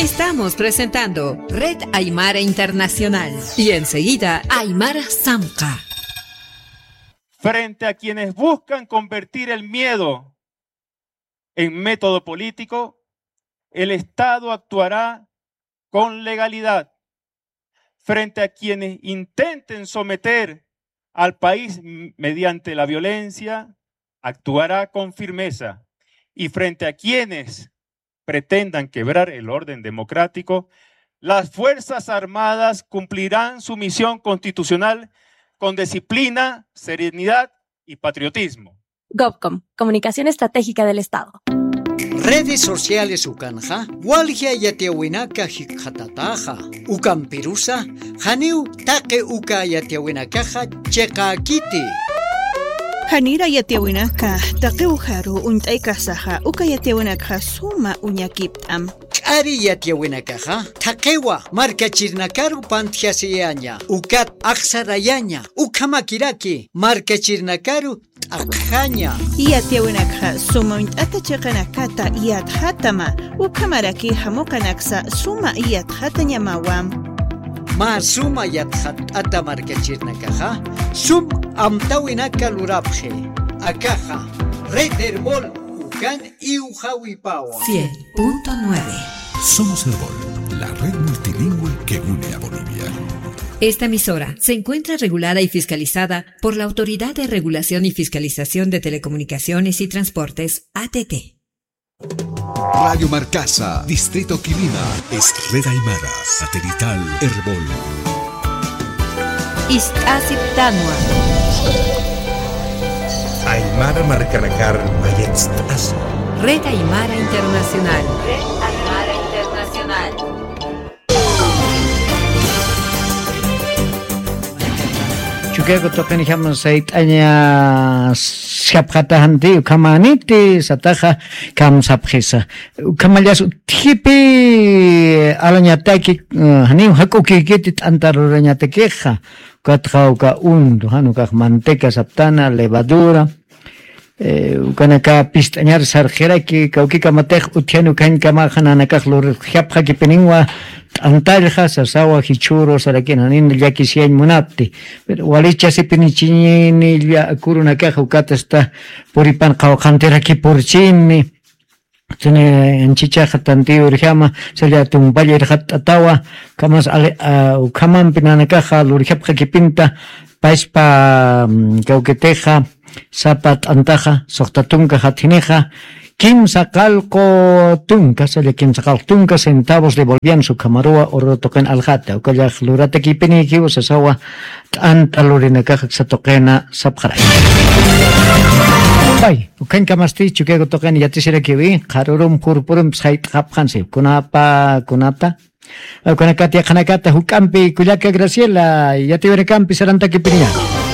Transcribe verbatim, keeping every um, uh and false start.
Estamos presentando Red Aymara Internacional y enseguida Aymara Samca. Frente a quienes buscan convertir el miedo en método político, el Estado actuará con legalidad. Frente a quienes intenten someter al país m-, mediante la violencia, actuará con firmeza. Y frente a quienes pretendan quebrar el orden democrático, las Fuerzas Armadas cumplirán su misión constitucional con disciplina, serenidad y patriotismo. Gobcom, Comunicación Estratégica del Estado. Redes sociales ukanxa, walja yatiyäwinaka jikxatataxa. Ukampirusa, janiw taqi uka yatiyäwinakaxa chiqäkiti. Janira yatiyäwinaka, taqi ujaru uñt'aykasaxa, uka yatiyäwinakxa suma uñakipt'am. K'ari yatiyäwinakaxa, thaqiwa markachirinakaru pantjasiyaña, ukat axsarayaña, ukhamakiraki markachirinakaru t'aqjaña. Yatiyäwinakxa suma uñt'ata chiqinakata yatxatama, ukhamaraki jamuqinaksa suma yatxatañamawa. Mä suma yatxatt'ata markachirinakaxa, sum amtäwinaka lurapxi. Akaxa, Red Erbol, ukan iwxawipawa. Cien punto nueve. Somos Erbol, la red multilingüe que une a Bolivia. Esta emisora se encuentra regulada y fiscalizada por la Autoridad de Regulación y Fiscalización de Telecomunicaciones y Transportes, A T T. Radio Marcasa, Distrito Quilima, es Red Aymara, satelital Erbol. Ist'asiptanwa. Aymara markanakar mayatst'asi. Red Aymara Internacional. Red Aymara Internacional. Chukiyaku tuqinjam sayt'aña sapxataxanti, ukhamaniti sataxa kamsapxisa. Ukhamallas utjipi alañataki, eh, janiw jak'ukikiti t'anta lurañatakixa. Ukatxa uka untu, jan ukax manteca saptana, levadura, eh, ukanaka pist'añar sarxiraki, kawkikamatix utjan ukañkamaxa nanakax lurjapxakipiniwa t'antallxa, sasawa jichhüru sarakina, nin llakisiyañ munapti. Pero walichasipinichiñini lla kurunakaxa ukatasta puripan qawqhantirakipurchini. Tuni anchichaxa tantiyu urjama, salla tumpalla irxatt'atawa, ukhamas ale-, a, ukhamampi nanakaxa lurjapxakipinta, paspa, mm, kawkitixa, sapa t'antaxa, suxta tunka jatjinixa, kimsa qallqu tunka, salla kimsa qallqu tunka centavos de bolivianos ukhamaruwa uru tuqin aljata, ukallax luratakipinikiw sasawa t'anta lurinakaxa aksa tuqina sapxaray. Pay, ukhañkamasti Chukiyaku tuqin yatisirakiwi, qharurum qurpurumpis jayt'xapxansi, kunapa, kunata, Ukanakat yaqhanakata juk'ampi kullaka Graciela, yatiwirakampi sarantakipiniña.